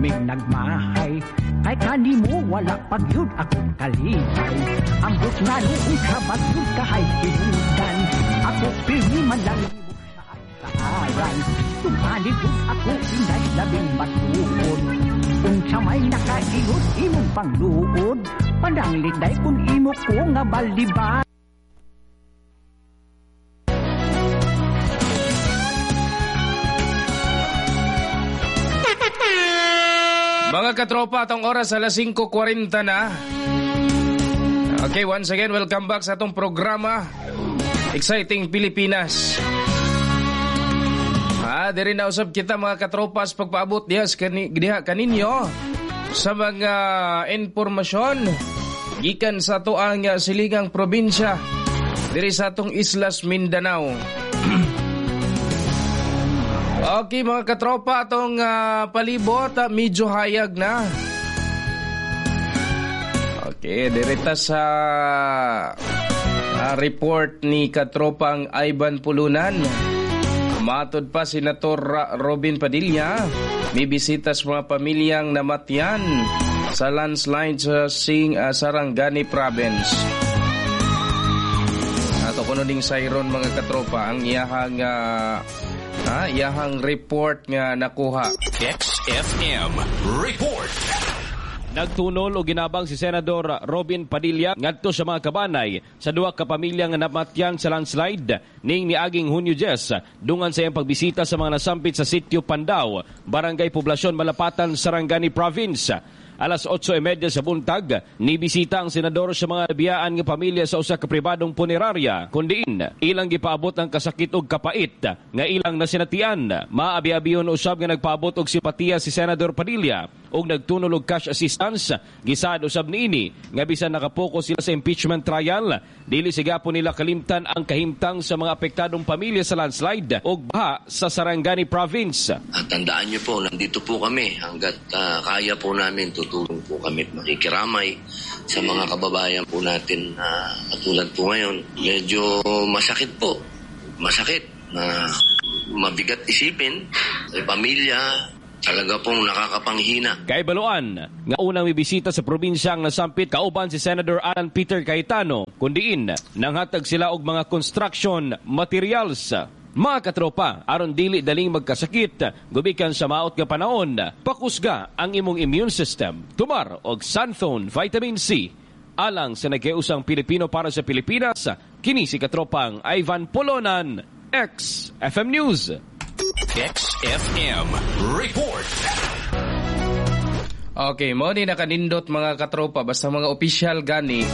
Pirming nagmahay. Kay kanimo wala pagyud akong kalipay. Ambot nga noong kabagyud kahay hinungdan. Ako pirmi man lang nimo sa saaran. Tumanig ako inday labing matuod. Unsa may nakaingon imong pangluod. Pananglit day kun imo ko nga baliba. Mga katropa, atong oras alas 5:40 na. Okay, once again, welcome back sa atong programa Exciting Pilipinas. Diri na usab kita mga katropas pagpaabot diha diha kaninyo sa mga impormasyon gikan sa atoang siligang probinsya diri sa atong Islas Mindanao. Okay mga katropa, atong palibot, medyo hayag na. Okay, direta sa report ni katropang Ivan Pulunan. Matod pa Senator Robin Padilla, may bisita sa mga pamilyang namatyan sa landslide sa Sarangani Province. Ato kuno ding sayron mga katropa ang iyahang iyahang report nga nakuha. XFM Report. Nagtunol o ginabang si Senador Robin Padilla ngadto sa mga kabanay sa duha ka pamilya nga namatyan sa landslide ning niaging Hunyo 10 dungan sa iyang pagbisita sa mga nasampit sa sitio Pandao, Barangay Poblasyon, Malapatan, Sarangani Province. Alas 8:30 sa buntag, nibisita ang senador sa mga nabiyaan nga pamilya sa usa ka pribadong punerarya, kundiin ilang gipaabot ang kasakit og kapait nga ilang nasinatian. Maabi-abiyon usab nga nagpaabot og simpatiya si Senador Padilla og nagtunol og cash assistance. Gisaad usab niini nga bisan nakapoko sila sa impeachment trial, dili sigapon nila kalimtan ang kahimtang sa mga apektadong pamilya sa landslide og baha sa Sarangani Province. At tandaan niyo po, nandito po kami hanggat kaya po namin, tutulong po kami at makikiramay sa mga kababayan po natin katulad po ngayon. Medyo masakit po. Masakit na mabigat isipin. Sa pamilya, talaga pong nakakapanghina. Kay Baluan, nga unang mibisita sa probinsya ang nasampit kauban si Senator Alan Peter Cayetano, kundiin nanghatag sila og mga construction materials. Mga katropa, aron dili daling magkasakit, gumikan sa maot nga panahon, pakusga ang imong immune system. Tumar og Xanthone Vitamin C. Alang sa nagkausang Pilipino para sa Pilipinas, kini si katropang Ivan Polonan, XFM News. XFM Report. Okay, mo ni nakanindot mga katropa, basta mga opisyal gani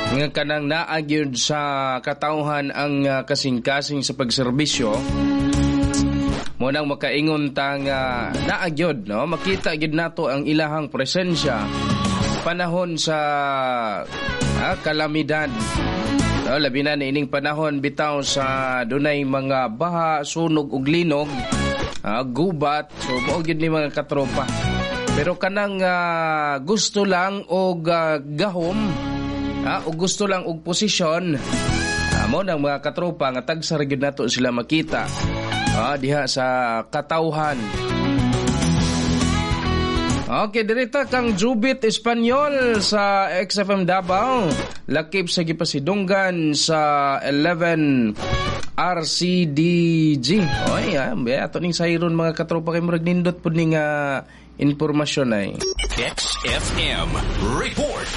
nga kanang naagyod sa katawhan ang kasing-kasing sa pagserbisyo. Mo nang makaingon ta nga naagyod, no? Makita gyud nato ang ilahang presensya panahon sa kalamidad. No, labi na ining panahon bitaw sa dunay mga baha, sunog ug linog, gubat. So mao gyud ni mga katropa. Pero kanang gusto lang og gahom, o gusto lang og posisyon, mo nang mga katropa nga tagsa ra gyud nato sila makita diha sa katawhan. Okay, direta kang Jubit Espanyol sa XFM Davao, lakip sa gipasidunggan sa 11 RCDG. Oy, ato ning sayron mga katropa kay murag nindot pud ning impormasyon ay. XFM Report.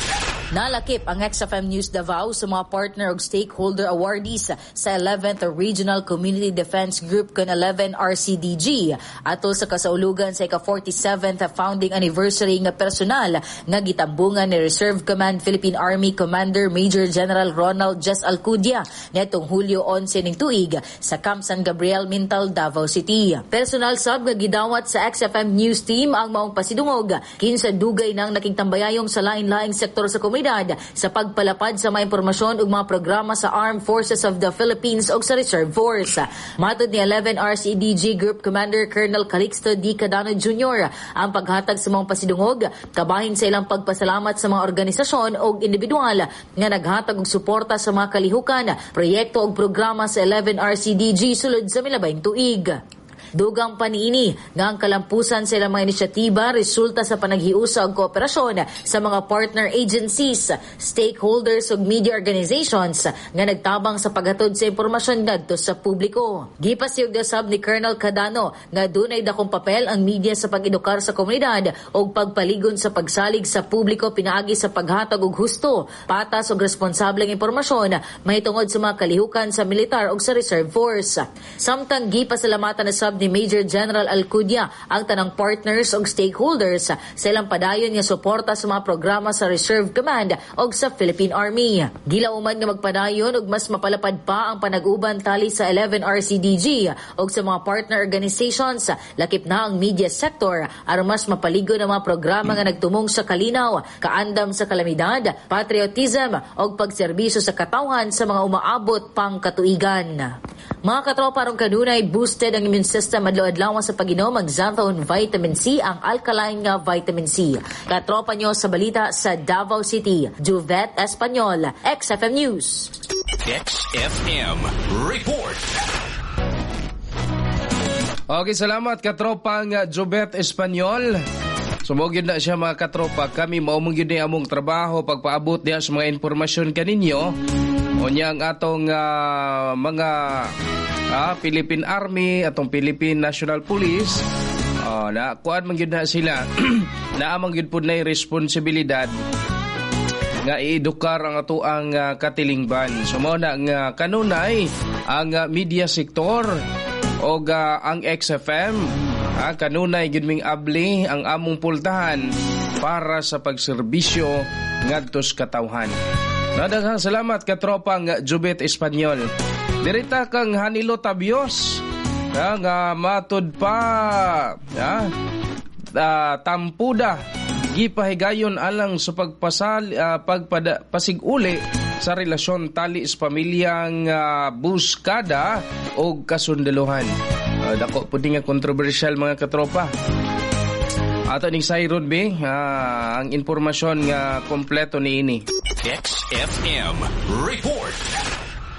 Nalakip ang XFM News Davao sa mga partner og stakeholder awardees sa 11th Regional Community Defense Group kon 11 RCDG atol sa kasaulugan sa ika-47th founding anniversary nga personal nga gitambungan ni Reserve Command Philippine Army Commander Major General Ronald Jess Alcudia netong Hulyo 11 ning tuig sa Camp San Gabriel, Mintal, Davao City. Personal sab nga gidawat sa XFM News Team ang maong pasidungog kinsa dugay nang nakigtambayayong sa lain-laing sektor sa komunidad sa pagpalapad sa mga impormasyon ug mga programa sa Armed Forces of the Philippines ug sa Reserve Force. Matod ni 11 RCDG Group Commander Colonel Calixto D. Cadano Jr., ang paghatag sa mga pasidungog kabahin sa ilang pagpasalamat sa mga organisasyon ug individual nga naghatag og suporta sa mga kalihukan, proyekto ug programa sa 11 RCDG sulod sa milabayng tuig. Dugang pa niini nga ang kalampusan sa ilang mga inisyatiba resulta sa panaghiusa og kooperasyon sa mga partner agencies, stakeholders ug media organizations nga nagtabang sa paghatod sa impormasyon ngadto sa publiko. Gipasiyog usab ni Colonel Cadano nga dunay dakong papel ang media sa pag-edukar sa komunidad ug pagpaligon sa pagsalig sa publiko pinaagi sa paghatag og husto, patas ug responsableng impormasyon mahitungod sa mga kalihukan sa militar ug sa reserve force. Samtang gipasalamatan usab ni Major General Alcudia ang tanang partners ug stakeholders sa ilang padayon nga suporta sa mga programa sa Reserve Command ug sa Philippine Army. Gilauman nga magpadayon ug mas mapalapad pa ang panag-uban tali sa 11 RCDG ug sa mga partner organizations, lakip na ang media sector, aron mas mapaligon ang mga programa nga nagtumong sa kalinaw, kaandam sa kalamidad, patriotism ug pagserbisyo sa katawhan sa mga umaabot pang katuigan. Mga katropa, aron kanunay boosted ang immune system adlaw-adlaw sa pag-inom ang Xanthone Vitamin C, ang alkaline nga vitamin C. Katropa nyo sa balita sa Davao City, Juvet Espanyol, XFM News. XFM Report. Okay, salamat katropang Jobet Espanyol. So mao gyud na siya, mga katropa, kami mao man gyud ni among trabaho, pagpaabot diha sa mga impormasyon kaninyo. Unya ang atong mga Philippine Army, atong Philippine National Police, oh, na kuan man gyud na sila. Naa man gyud pud nay responsibilidad nga iedukar ang atoang katilingban. So mao na nga kanunay ang media sector o ang XFM, kanunay gyud ming abli ang among pultahan para sa pagserbisyo ngadto sa katawhan. Daghang salamat, katropang Jubet Espanyol. Dirita kang Hanilo Tabios, nga matud pa tampuda gipahigayon alang sa pagpasal pagpada pasiguli sa relasyon tali sa pamilyang Buskada o kasundaluhan. Dako pud nga controversial, mga katropa. Ato ning sayron be ang impormasyon nga kompleto niini. XFM Report.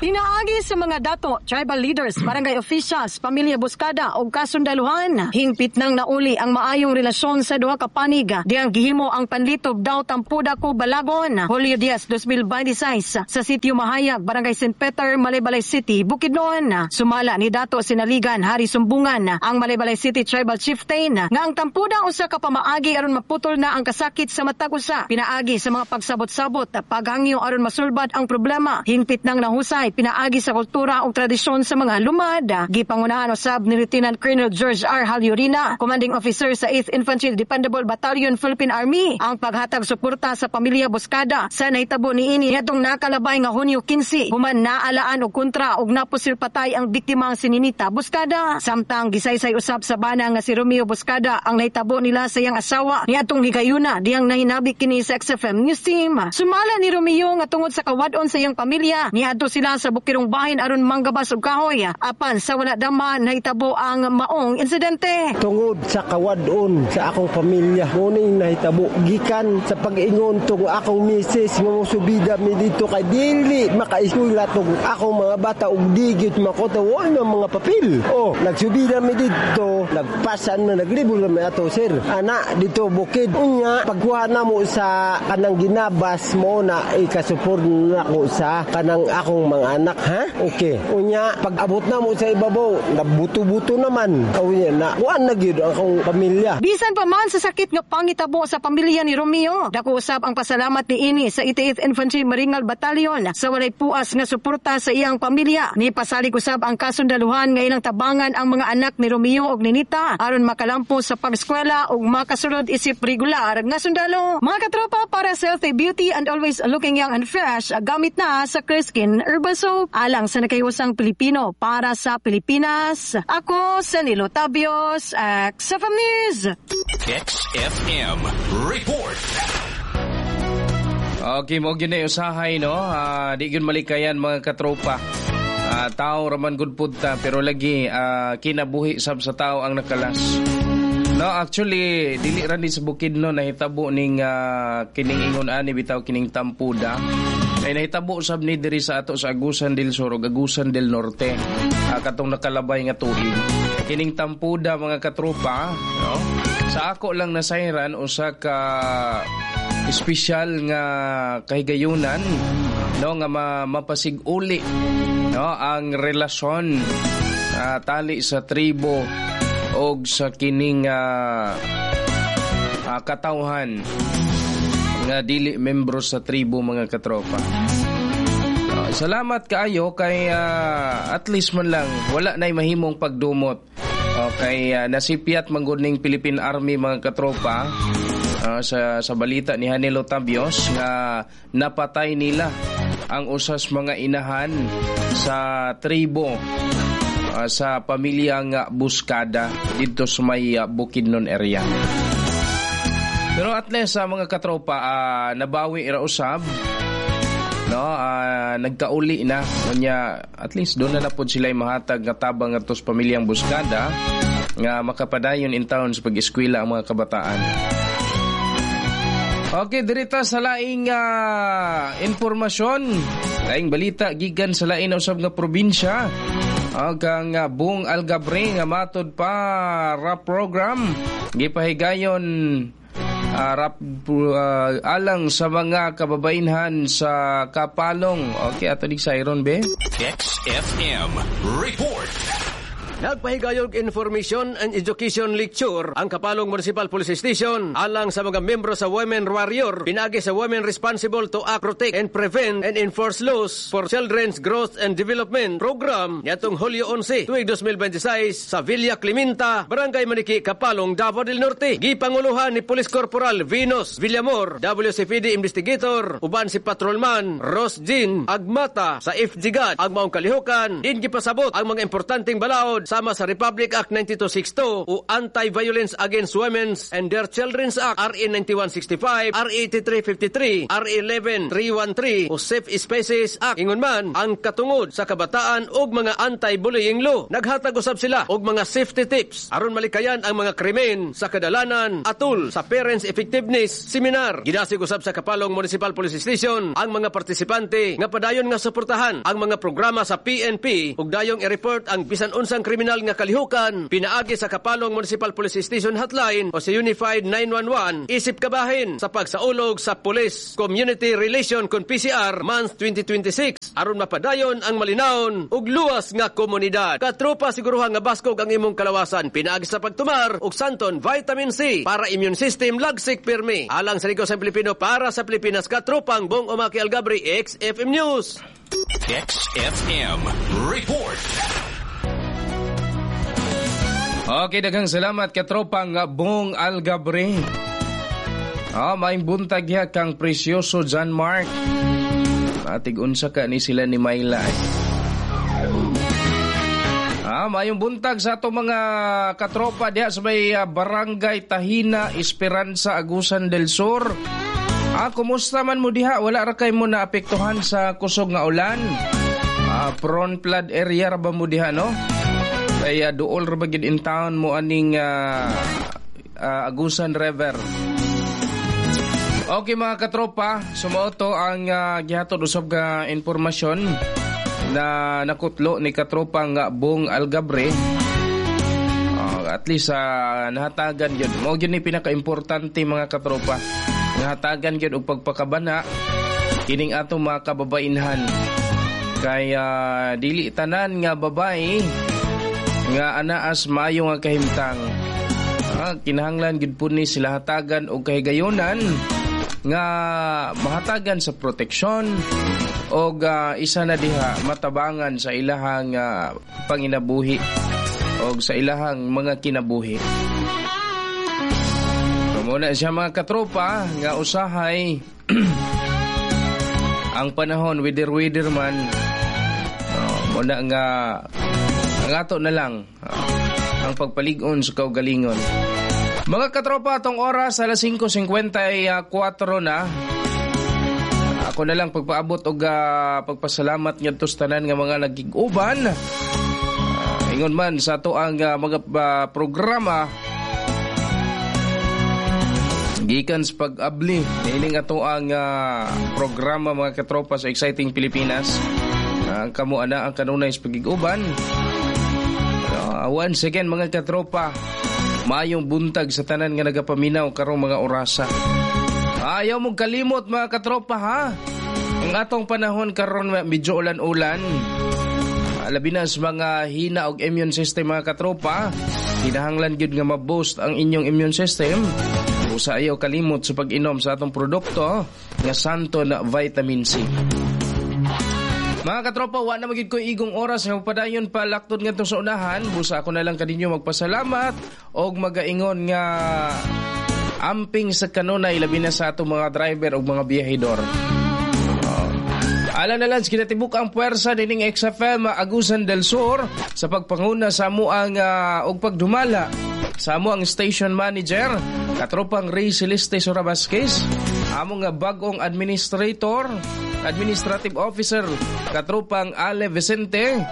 Pinaagi sa mga dato, tribal leaders, barangay officials, pamilya Buskada o kasundaluhan, hingpit nang nauli ang maayong relasyon sa duha ka panig. Diyang gihimo ang panlitob daw Tampuda ko Balagon, Julio 10, 2026 sa Sitio Mahayag, Barangay St. Peter, Malaybalay City, Bukidnon. Sumala ni Dato Sinaligan Hari Sumbungan, ang Malaybalay City Tribal Chieftain, nga ang tampuda usa ka pamaagi aron maputol na ang kasakit sa matag usa. Pinaagi sa mga pagsabot-sabot, paghangyo aron masulbad ang problema. Hingpit nang nahusay pinaagi sa kultura ug tradisyon sa mga lumad. Gipangunahan usab ni Lieutenant Colonel George R. Halyurina, Commanding Officer sa 8th Infantry Dependable Battalion, Philippine Army, ang paghatag suporta sa pamilya Buskada sa nahitabo niini ngadtong nakalabay nga Hunyo 15, human naalaan og kontra og napusil patay ang biktimang si Ninita Buskada. Samtang gisaysay usab sa bana nga si Romeo Buskada ang nahitabo nila sa iyang asawa niadtong higayuna diyang nahinabi kini sa XFM News Team. Sumala ni Romeo nga tungod sa kawadon sa iyang pamilya, niadto sila sa bukirong bahin aron manggabas og kahoy. Apan sa wala dama nahitabo ang maong insidente. Tungod sa kawadon sa akong pamilya, mao ning nahitabo gikan sa pag-ingon tong akong misis nga mosubida mi dito kay dili makaeskwela tong akong mga bata ug di gyud makota wa na mga papel. Oh, nagsubida mi dito, nagpasan na naglibol na mi ato, sir. Ana dito bukid, unya pagkuha namo sa kanang ginabas mo na ikasupport nako sa kanang akong mga anak, ha? Okay. Unya pag abot namo sa ibabaw, nabuto-buto naman. Unya na kuan na gyud ang akong pamilya. Bisan pa man sa sakit nga pangitabo sa pamilya ni Romeo, dako usab ang pasalamat ni ini sa 88th Infantry Maringal Battalion sa walay puas nga suporta sa iyang pamilya. Ni pasalig usab ang kasundaluhan nga ilang tabangan ang mga anak ni Romeo ug Ninita aron makalampo sa pag-eskwela ug makasulod isip regular nga sundalo. Mga katropa, para sa healthy beauty and always looking young and fresh, gamit na sa Clear Skin Herbal Soap. Alang sa nakahiusang Pilipino para sa Pilipinas, ako sa Nilo Tabios, XFM News. XFM Report. Okay, mao gyud na usahay, no. Di gyud malikayan, mga katropa. Tao raman gud pud ta, pero lagi kinabuhi sab sa tao ang nakalas. No, actually dili ra ni sa Bukidnon nahitabo ning kining ingon ani bitaw, kining tampuda. Kay nahitabo sab ni diri sa ato sa Agusan del Sur ug Agusan del Norte. Katong nakalabay nga tuig. Kining tampuda, mga katropa, no? Sa ako lang nasayran, usa ka espesyal nga kahigayunan, no, nga mapasig-uli, no, ang relasyon tali sa tribo og sa kining katawhan nga dili membro sa tribo, mga katropa. Salamat kaayo kay at least man lang wala nay mahimong pagdumot. Okay, nasipyat man gud ning Philippine Army, mga katropa, sa balita ni Hanilo Tabios nga napatay nila ang usas mga inahan sa tribo sa pamilyang Buskada didto sa may Bukidnon area. Pero at least sa mga katropa, nabawi ra usab, no, nagkauli na unya, at least doon na pud sila mahatag nga tabang ngadto sa pamilyang Buskada nga makapadayon in town sa pag-eskwela ang mga kabataan. Okay, dirita sa laing impormasyon, laing balita gikan sa lain na usab nga probinsya. Kang Bong Algabre nga matod pa rap program gipahigayon rap alang sa mga kababainhan sa Kapalong. Okay, ato dig Siron be. XFM Report. Nagpahigayog information and education lecture ang Kapalong Municipal Police Station alang sa mga membro sa Women Warrior pinagi sa Women Responsible to Act, Protect and Prevent and Enforce Laws for Children's Growth and Development Program niadtong Hulyo 11, tuig 2026 sa Villa Clementa, Barangay Maniki, Kapalong, Davao del Norte. Gipanguluhan ni Police Corporal Venus Villamor, WCPD Investigator, uban si Patrolman Ross Jean Agmata sa FGGAD. Ang maong kalihukan, din gipasabot ang mga importanteng balaod sama sa Republic Act 9262 o Anti-Violence Against Women and Their Children's Act, RA 9165, RA 8353, RA 11313 o Safe Spaces Act. Ingon man ang katungod sa kabataan og mga anti-bullying law. Naghatag usab sila og mga safety tips aron malikayan ang mga krimen sa kadalanan atul sa Parents Effectiveness Seminar. Gidasig usab sa Kapalong Municipal Police Station ang mga partisipante nga padayon nga suportahan ang mga programa sa PNP ug dayong i-report ang bisan unsang kriminal nga kalihukan pinaagi sa Kapalong Municipal Police Station Hotline o sa Unified 911, isip kabahin sa pagsaulog sa Police Community Relation kon PCR Month 2026 aron mapadayon ang malinawon ug luwas nga komunidad. Katropa, siguruhan nga baskog ang imong kalawasan pinaagi sa pagtumar og Santon Vitamin C para immune system lagsik pirmi. Alang sa Ligo sa Pilipino para sa Pilipinas, katropang Bong Umaki Algabri, XFM News. XFM Report. Okay, daghang salamat, katropang Bong Algabre. Maayong buntag ya kang Precioso John Mark. Atig unsa ka ni sila ni Myla. Maayong buntag sa ato mga katropa diha sa may Barangay Tahina, Esperanza, Agusan del Sur. Kumusta man mo diha? Wala ra kay mo naapektuhan sa kusog nga ulan? Prone flood area ra ba mo diha, no? Kaya duol ra ba gid in town mo aning Agusan River. Okay, mga katropa, sumauto ang gihatod usab nga impormasyon na nakutlo ni katropang Bong Algabre. At least nahatagan gyud. Mao gyud ni pinakaimportante, mga katropa. Nahatagan gyud og pagpakabana kining atong mga kababainhan. Kay dili tanan nga babae nga anaas maayo nga kahimtang. Kinahanglan gyud pud ni sila hatagan og kahigayonan nga mahatagan sa proteksyon og isa na diha matabangan sa ilahang panginabuhi og sa ilahang mga kinabuhi. So, muna siya, mga katropa, nga usahay ang panahon weather-weather man. Muna nga ang ato na lang ang pagpalig-on sa kaugalingon. Mga katropa, atong oras alas 5:54 na. Ako na lang pagpaabot og pagpasalamat ngadto sa tanan nga mga nagig-uban. Ingon man sa ato ang mga programa, Gikan sa pag-abli niining ato ang programa, mga katropa, sa Exciting Pilipinas. Ang kamo ana ang kanunay sa pagig-uban. Once again, mga katropa, maayong buntag sa tanan nga nagapaminaw karong mga orasa. Ayaw mong kalimot, mga katropa, ha. Ang atong panahon karon medyo ulan-ulan. Labi na sa mga hina og immune system, mga katropa. Kinahanglan gyud nga ma-boost ang inyong immune system. Usa, ayaw kalimot sa pag-inom sa atong produkto nga Santo na Vitamin C. Mga katropa, wa na magid ko igong oras nga padayon pa laktod ngadto sa unahan. Busa ako na lang kaninyo magpasalamat og magaingon nga amping sa kanunay, labi na sa atong mga driver ug mga biyahidor. Ala na lang kinatibuk ang puwersa nining XFM Agusan del Sur sa pagpanguna sa amuang og pagdumala sa amo ang station manager, katropang Ray Celeste Sora Vasquez, amo nga bag-ong administrator, administrative officer, katropang Ale Vicente,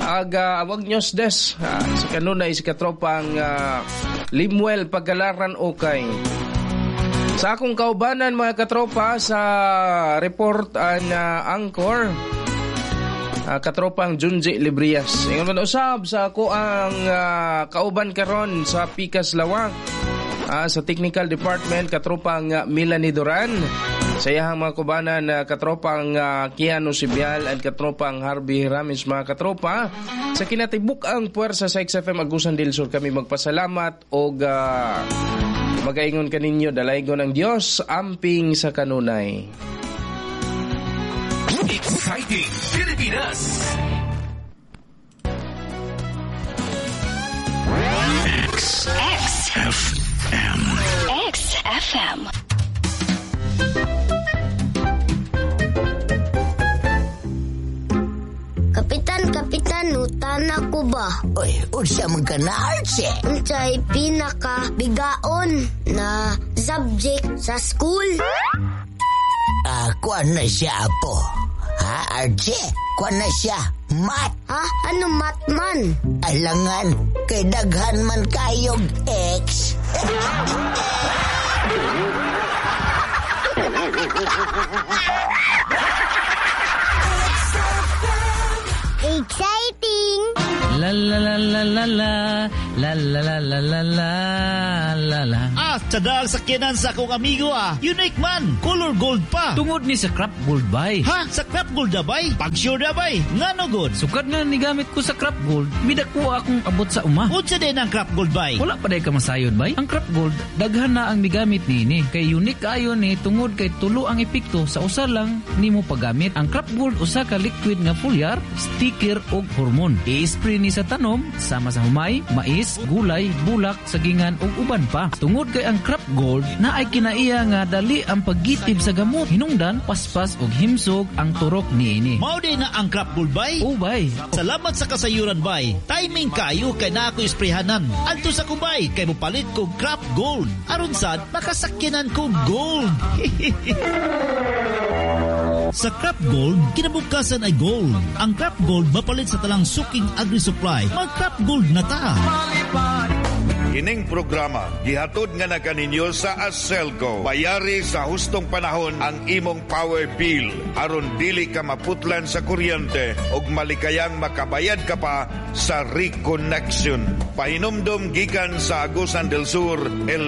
aga awag news desk sa kanunay si katropang Limuel Pagalaran Okay. Sa akong kaubanan, mga katropa, sa report and anchor, katropang Junji Librias. Ingon man usab sa ako ang kauban karon sa Pikas Lawak, sa technical department, katropang Melanie Duran. Sa iyahang mga kubanan, katropang Keanu Sibial at katropang Harvey Ramis, mga katropa. Sa kinatibuk ang puwersa sa XFM Agusan del Sur kami magpasalamat og magaingon kaninyo, dalaygon ang Dios, amping sa kanunay. Exciting Pilipinas. X X F M X FM. Kapitan, kapitan, utana ko ba? Oy, unsa man ka na, Archie? Unsay pinaka bigaon na subject sa school? Kuan na siya, apo. Ha, Archie? Kuan na siya, mat. Ha? Ano mat man? Alangan, kay daghan man kayog X. Exciting! La la la la la la la la la la la la la la. Ah, tadal sa kinan sa akong amigo ah. Unique man, color gold pa. Tungod ni sa Crop Gold bay. Ha? Sa Crop Gold na bay? Pag-sure na bay? Ngano good? Sukad nga nigamit ko sa Crop Gold, midako akong abot sa uma. Unsa din ang Crop Gold bay? Wala pa day ka masayod bay. Ang Crop Gold, daghan na ang migamit niini. Kay unique ayo ni tungod kay tulo ang epekto sa usa lang nimo paggamit. Ang Crop Gold usa ka liquid nga foliar, sticker og hormone. I-spray ni sa tanom sama sa humay, mais, gulay, bulak, sagingan ug uban pa. Tungod kay ang Crop Gold na ay kinaiya nga dali ang paggitib sa gamot. Hinungdan, paspas ug himsog ang turok niini. Mao din na ang Crop Gold bay? O bay. Salamat sa kasayuran bay. Timing kayo kay na ako isprayhanan. Adto sa kumbay kay mopalit ko Crop Gold. Aron sad makasakyanan ko gold. Sa Crop Gold, kinabukasan ay gold. Ang Crop Gold mapalit sa talang suking agri-supply. Mag-Crop Gold na ta. Kining programa, gihatod nga na kaninyo sa Aselco. Bayari sa hustong panahon ang imong power bill. Aron dili ka maputlan sa kuryente ug malikayang makabayad ka pa sa reconnection. Pahinumdom gikan sa Agusan del Sur, El